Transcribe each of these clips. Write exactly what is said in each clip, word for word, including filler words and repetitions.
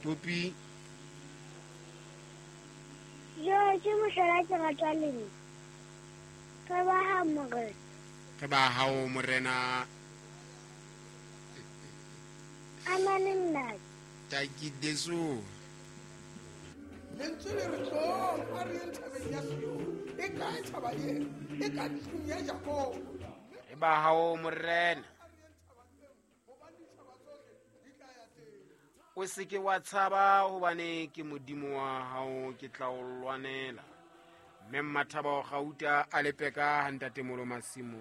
Popi. Jo ke mohlola ke ratwa le nna. Re ba ha morena. Re ba hao morena. Amane nna. Taki deso. Lentswe le re tlong a re yeng thabeng ya Sione. E kae thaba eo? E ka tlung ya Jakobo. Re ba hao morena. O se ke wa tshaba hobane ke modimo wa hao, ke tla o lwanela. Mme Mmathaba wa Gauta a lepeka ha ntatemolo masimo.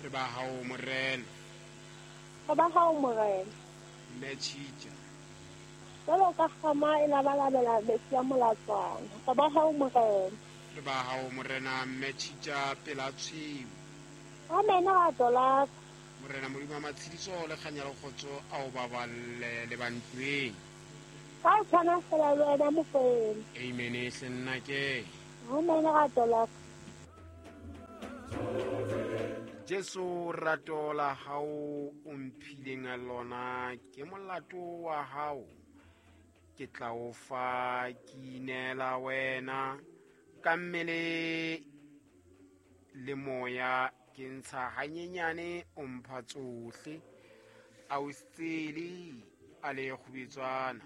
Re ba hao morena. Re ba hao morena. Mme Tjhitja. Jwalo ka kgama e labalabela metsi a molatswana. Re ba hao morena. Re ba hao morena mme Tjhitja pela tshweu. Amen rato la ka. Morena Modimo wa matshediso le kganya le kgotso a o baballe le bantlweng. Ka o tshwana fela le wena Mokwena. Amen hle nna ke. Amen rato la ka. Jesu rato la hao o mphileng lona ke molato wa hao. Ke tla o fa ke inela wena ka mmele le moya, ke ntsha hanyenyane o mpha tsohle. A o sele a le kgubetswana.